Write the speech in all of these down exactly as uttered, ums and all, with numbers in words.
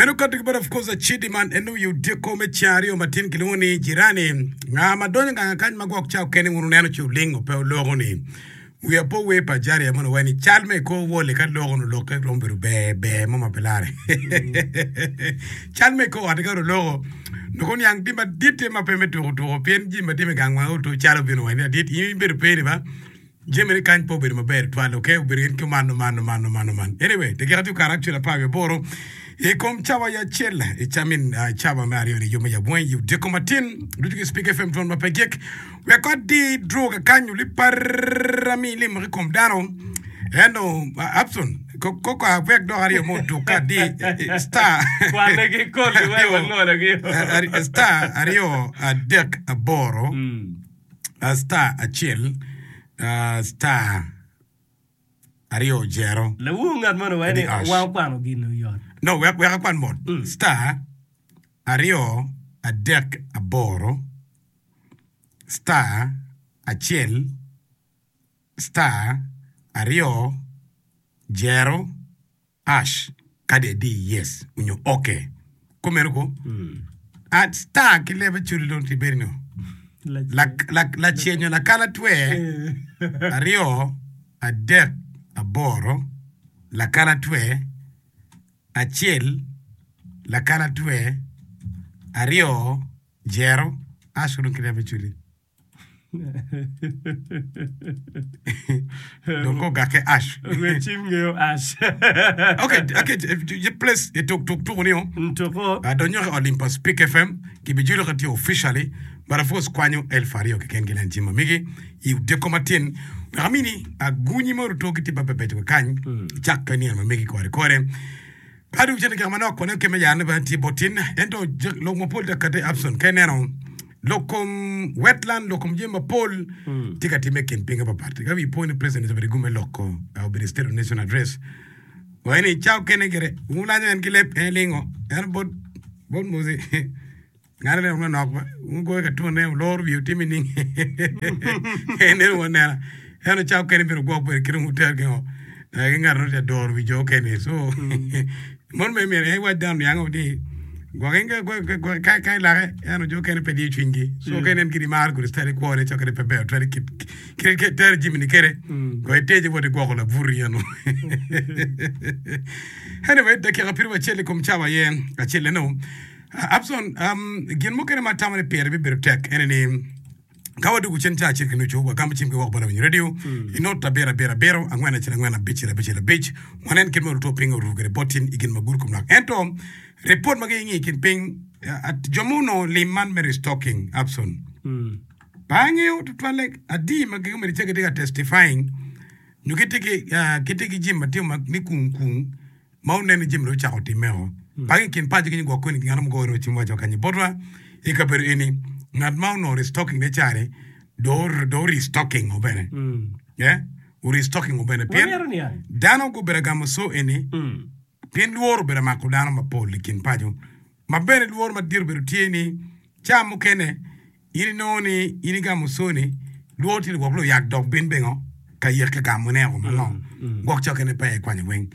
Meno kato ki bot of course Acidi man en oyo dyeko me ceng aryo matin kilwongo ni Jirani. Nga ma donyo gang kany ma gwok ca okene wun wuneno ci olingo pe oloko ni. Wiya pe ower pa Ajaria mono wai ni cal me kor wole ka loko no lokke romo bedo ber ber mo ma pe lare. Cal me kor ot ka oloko nongo niang tye madit tye ma pe me tuko tuko pien jami ma tye me gang wang oto cal obino wai ni adit in ibedo pe ni ba. Jami ni kany pe obedo maber twal ok obedo gin ki man man man man man anyway dakika tye okato actually apar wiye aboro i kom cawa ya acel i camin uh, cawa me aryo ni yo me yabweng i odiko matin ducu ki Speak F M twon ma pe gik wek adi draw kakany oli parami limo ki kom dano ento uh, Abson ko ko ko wek dok aryo mo otuk ka adi eh, star Kwane ki koli wek aryo wanwologi. eh, ari- star aryo adek aboro Mm. Uh, star acel uh, star aryo jero Lawu ngat mono waye Edi ni ash. wa okwano gin oyot. No, wek wek akwan mot. Mm. Star aryo adek aboro star acel star aryo jero ash kadi adi yes onyo okay. Kumeno ko a star ki lebe culi dong ti bedo no. La la lacenyo lakala twe aryo adek aboro lakala twe acel lakala twe aryo jero ash dong ki lebe culi. Dong ko gake ash. Rwed cim ngeyo ash. Okay, okay, je place e tuk tuk tuku ni o. Ntuko. Adonyo ki Olympus Peak F M kibijulo ka tye officially, but of course kwanyo elfu aryo keken ki len cim mamigi i odiko matin wek amini agunyi mo ruto ki tye mabebeco kany cak ka nino mamigi kore kore. Ka dong cente kek manok kwane keme yane bene tye bot tin ento lok mapol tye ka kati Abson ka ineno lok kom wetland lok kom jami mapol tye ka timme i kin pinge papat ka wi po ni president obedo i gume loko obedo i state of nation address waci ni ca okene gire wulanyo en ki leb en lingo en bot bot Moses Ngane lek manok ba wugoyo ka twone wuloro wiye wutimo nining? En wu anena ento ca okene myero wugwok bene kit ma wutero ki ngo ki ngat ma tye ka doro wi jo okene so mono bene myero en iwac dano niango ni gwoki ka ka ilake ento jo okene pe diyo cwinygi so ka inen kit imaro kodi citali kwone ca okene pe ber twero kit kit itero jami-ni kwede go iteje wot igwoko labuti eno anyway dakika pyeraryo acel i kom cawa aye acel eno. Abson, um, gin mukene ma atamo ni pire bibedo tek ene ni ka wadwogo cen ca acel ki nucu wagamo cim ki woko bot lawiny radio i not abiro abiro abiro angwen acel angwen abicel abicel abic wanen kit ma luto piny oruko kwede bot tin i gin ma gudo kom lwak ento ripot ma gingi i kin piny uh, jo ma onongo lim man me restocking Abson pe angeyo tutwalle adi ma gimito ce gitye ka testifying nyo gitye ki uh, gitye ki jami ma timo ma ni kung kung ma onen ni jami dong ocako timmeo. Pagi i kin paco kenyo gwok koni ngat mo goyo cim waco kanyi botwa i kabedo eni ngat ma onongo restocking ne cani do do restocking o bene eh o restocking o bene pien Wamito niang. dano gubedo gamo so eni pien lworo obedo mako dano mapol i kin paco ma bene lworo madit obedo tye ni ca mukene In inongo ni in igamo soni, lworo tye ni gwok luyak dok bin pingo ka yek ka gamo ne o mango gwok cokke ne pe ikwanyo weng.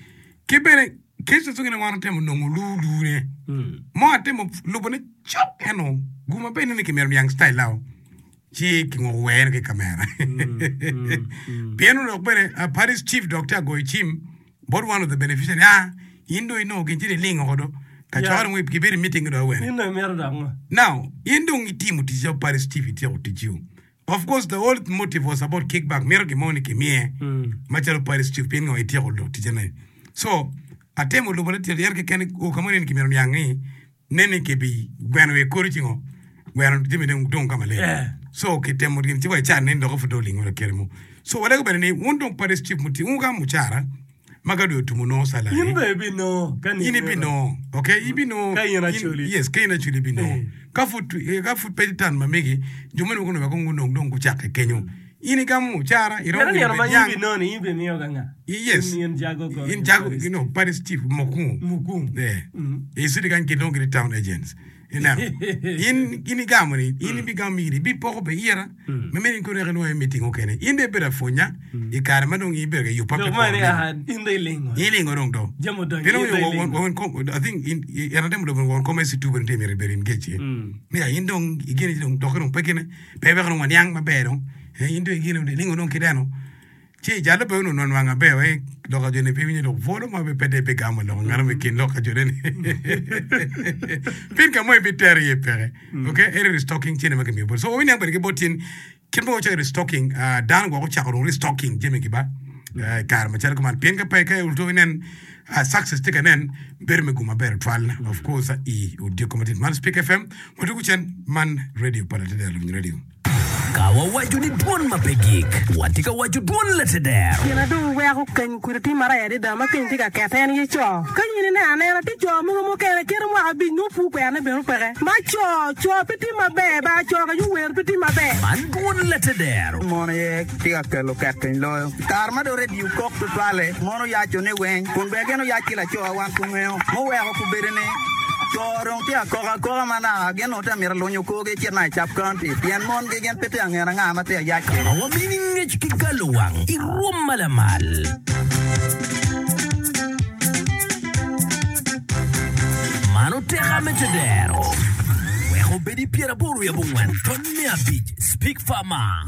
Ki bene cases mukene wan otemo nongo lu lu ne mo atemo lubo ne cok eno guma bene ni kimito niang style ao ci kingoko were ki kamera pien onongo bene Paris chief dok tye agoyo cim bot one of the beneficiary ah in dong inongo gin ci iling oko do ka Yeah. cokere dong gibedo i meeting do awene In dong imito dok ngo? Now in dong itimo tic calo Paris Chief ityeko ticci-u. Of course the whole motive was about kickback mito gin mo ni kimiye macalo Paris Chief pien ngo ityeko lok ticce-ne. So atemo lubo latyet yer keken o ka mo ni kimito niang ni nen ni kibi gweno wiye kodi ci ngo gweno jami dong dong ka maleng. Yeah. So kitemo gin ci wa ican ni dok pud dong olingo lakere mo. So walego bene ni wun dong Paris Chief muti wun ka mucara ma ka dwe otumo nongo salary. In bene ibinongo ka In nino meno. ibinongo, okay, ibinongo. Ka in In, Acholi. yes, ka in Acholi ibinongo. Eh. Ka pud, eh, ka pud pe tan ma megi, jo moni wek onongo wek gunong dong gucakke kenyo. In igamo mucara iromo Kata gino nino bed ma yang in binoni in bimiyo ka nga. Yes. In in jago ko. In jago you know Paris chief mukungu. Mukungu. Yeah. Mm. I city kan gilong gini town agents. Ineno. In in igamo ni in ibigamo iri bi poko be ira. Me meni kune ka nwoyo meeting okene. In de bedo afunya i kare ma dong ibedo ka yupa Dok pe mani poko. aha in dong ilingo. Ilingo dong do. Jami odonyo Pien in dong omiyo ilingo. wa- wa- wa- I think in en atemo dong won kome si tu bene myero ibed engage iye. Mm. Ni ya in dong igene dong dok dong pe gine pe weko dong waniang maber dong. Eh, In dong igene ilingo dong kideno. Ci jalo pe ono nwang aber eh lok a jone pe winyo lok bwolo ma pe de pe gamo lok ngano me kin lok a jone ni. Pin ka mo ibi tero iye peke. Okay, eri restocking cene ma kimiyo bot. So wawiniang bene ki bot tin kit ma wacayo restocking ah, dano gwoko ocako dong restocking jami ki ba eh, kare macalo kuman pien ka pe ka oluto inen ah, success tye ka nen bedo me gum maber twal of course i odiko matin man Speak F M watugo cen man radio pa Lateder Luwiny Radio. Ka wawaco ni dwon ma pe gik, watye ka waco dwon lateder. Gin adong weko keny kudi tye marac adada ma keny tye ka kete en ye co. Ka in ineno anena tye co mogo mukene kite mwaka abic nongo pur kwerone bene peke. Ma co, co pe tye maber ba co ka wer pe tye maber. Man dwon lateder. Mon aye tye ka kelo ket piny loyo. Kare ma dong redio kok tutwale, mon oyaco ni weng, kun bene gin oyac ki laco wan kungeo. Muweko kubedo ni co dong tye akoka akoka ma naka gin onongo tye mito lunyo korgi cit na i Cap County pien mon gi gin pe tye angeno anga ma tye ayac. Ma wamini ngec ki galo wang i rwom ma lamal. Man oteka me tedero. Weko obedi pyeraboro wiye abongwen ton mia abic Speak Farmer.